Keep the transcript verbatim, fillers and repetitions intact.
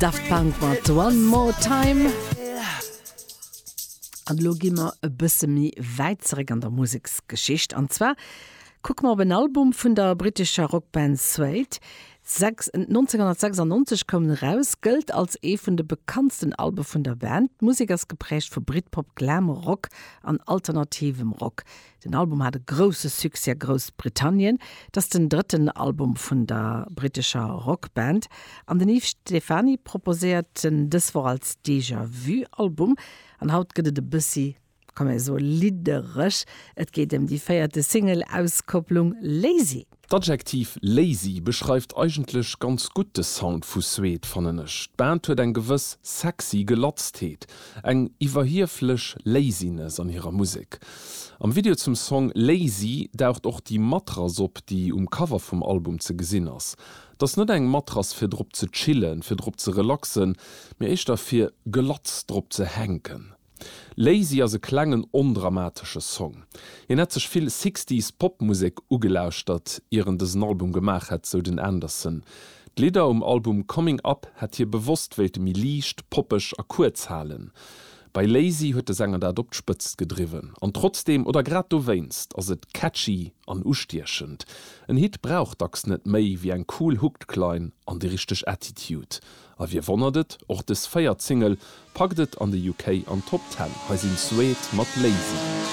Daft Punk mat One More Time. An elo gi mer e bësse méi wäit zeréck an der Museksgeschicht. An zwar kucke mer op en Album vun der brittescher Rockband Suede. nonzénghonnertsechsannonzeg koum en eraus, gëllt als ee vun de bekanntsten Albe vun der Band. D'Musek ass gepräägt vu Britpop, Glam Rock an alternativem Rock. Den Album hat e grousse Succès a Groussbritannien. Et ass den drëtten Album vun der brittescher Rockband an den Yves Stephany proposéiert en dës Woch als Déjà-vu-Album. An haut gëtt et e bëssi, kann ee soen, liddereg. Et geet ëm déi véierte Single-Auskopplung Lazy. D'Adjektiv lazy beschreift eigentlech ganz gutt de Sound vu Suede, fannen ech. D'Band huet eng gewëss sexy Gelatztheet, eng iwwerhieflech Laziness an hirer Musek. Am Video zum Song Lazy daucht och déi Matrass op, déi um Cover vum Album ze gesinn ass. Et ass net eng Matrass fir drop ze chillen, fir drop ze relaxen, mee éischter fir gelatz drop ze hänken. Lazy ass e klengen ondramatesche Song. Hien hätt sech vill Sixties Popmusek ugelauschtert ier en dësen Album gemaach hätt, sou den Anderson. D'Lidder um Album Coming Up hätt hie bewosst wéilte méi liicht, poppeg a kuerz halen. Bei Lazy huet de Sänger dat op d'Spëtzt gedriwwen. An trotzdeem, oder grad dowéinst, ass et catchy an ustiechend. En Hit brauch dacks net méi wéi eng cool Hookline an déi richteg Attitude. A wie wonnert et, och dës véiert Single packt et an de U K an d'Top Ten. Hei sinn Suede mat Lazy.